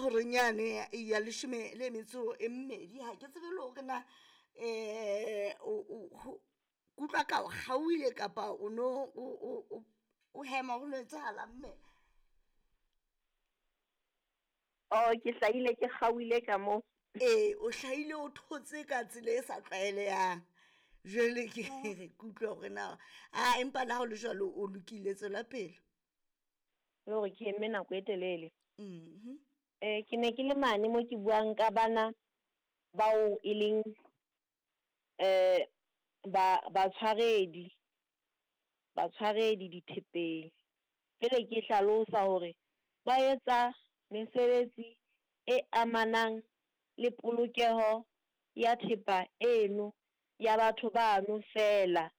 Horeng yane ya leshome le metso e mmedi, ha ke tsebe le hore na um kutlwa ka o kgaohile kapa o no o hema ho no etsahalang mme? Oh, ke hlahile ke kgaohile ka mo. Ee, o hlahile o thotse ka tsela e sa tlwaelehang. Jwale ke re ke utlwe hore na a empa le ha o le jwalo o lokile, tswela pele. Le hore ke eme nako e telele. Ke ne ke le mane mo ke buang ka bana bao e leng ba batshwaredi, batshwaredi dithepeng. Jwale ke hlalosa hore ba etsa mesebetsi e amanang le polokeho ya thepa eno ya batho bano fela,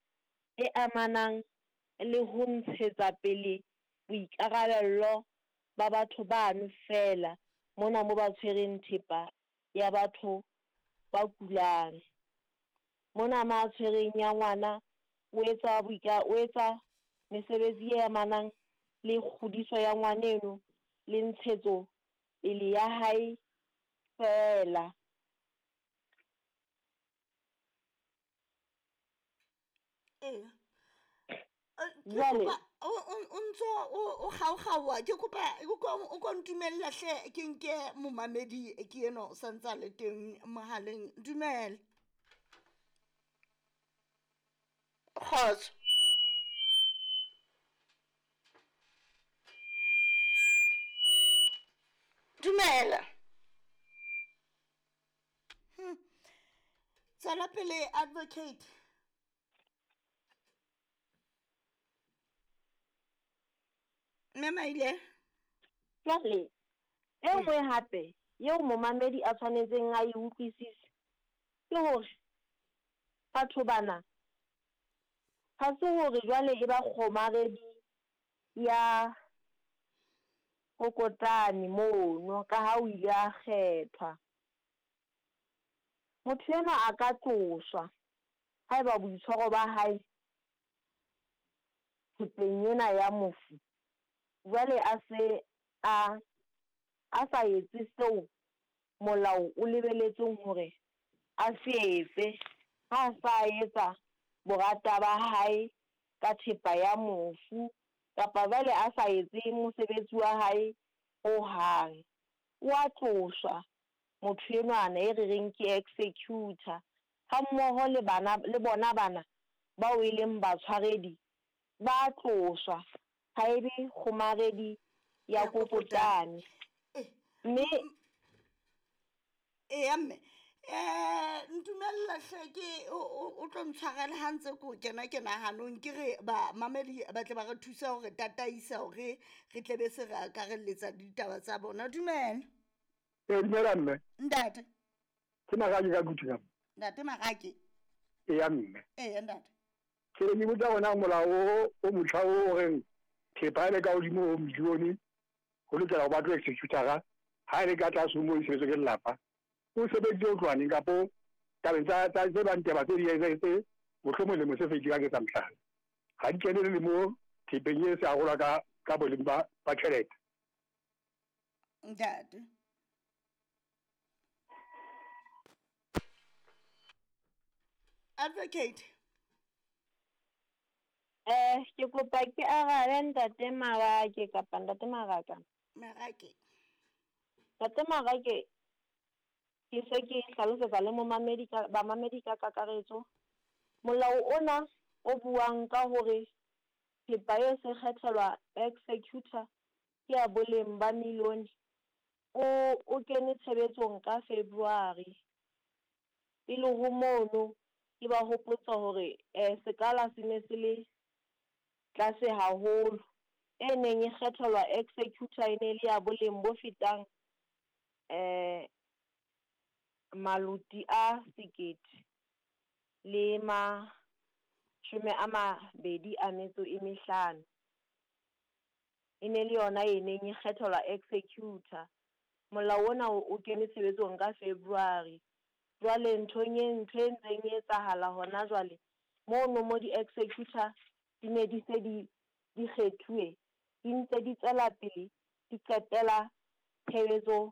e amanang le ho ntshetsa pele boikarabello ba batho bano fela mona mo ba tshwereng thepa ya batho ba kulang. Mona ma tshwereng ya ngwana o etsa o etsa mesebetsi e amanang le kgodiso ya ngwaneno le ntshetso pele ya hae fela. Ee. Jwale O ntso o kgaokgaoha, ke kopa o ko ntumella hle ke nke momamedi ke enwa o santsa le teng mohaleng. Dumela. Kgotso. Dumela. Tswela pele advocate. Mme Maile. Jwale e nngwe hape eo momamedi a tshwanetseng a e utlwisise ke hore batho bana ha se hore jwale e ba kgomaredi ya kokotane mono ka ha o ile a kgethwa. Motho enwa a ka tloswa haeba boitshwaro ba hae thepeng ena ya mofu jwale a se a a sa etse seo molao o lebeletseng hore a se etse, ha sa etsa borata ba hae ka thepa ya mofu kapa jwale a sa etse mosebetsi wa hae ho hang. O a tloswa motho enwana e re reng ke executor ha mmoho le bana le bona bana bao e leng batshwaredi ba tloswa, ha e be kgomaredi ya kokotane. Mme Eya mme, ntumella hle ke o tlo ntshwarela ha ntse ko kena kena hanong, ke re bamamedi ba tle ba re thusa hore tataisa hore re tle be se re akarelletsa ditaba tsa bona. Dumela. Ee, dumela mme. Ntate. Ke Marake ka Kutu ka. Ntate Marake. Eya mme. Eya ntate. Ke ne ke botsa hore na molao o o motjha o o reng thepa e le ka hodimo ho milione ho lokela ho batlwe executor-a, ha e le ka tlase ho moo e sebetswe ke lelapa. O sebeditse ho tloha neng kapo tabeng tsa tsa tse bang taba tse di etsahetse mohlomong lemo se fetileng ha ke etsa mohlala. Ha di kene le mo thepeng e se arolwa ka ka boleng ba ba tjhelete. Ntate. Advocate. Ke kopa ke arabe ntate Marake kapa ntate Maraka. Marake. Ntate Marake, ke se ke hlalosetsa le momamedi ka bamamedi ka kakaretso. Molao ona o buang ka hore thepa e se kgethelwa executor ke ya boleng ba milione o o kene tshebetsong ka February. Pele ho mono ke ba hopotsa hore sekala se ne se le tlase haholo, e neng e kgethelwa executor e ne le ya boleng bo fetang maloti a sekete le mashome a mabedi a metso e mehlano. E ne le yona e neng e kgethelwa executor. Molao ona o kene tshebetsong ka February. Jwale nthong e ntho e ntseng e etsahala hona jwale mono mo di-executor di ne di se di di kgethuwe, di ntse di tswela pele di qetela tshebetso.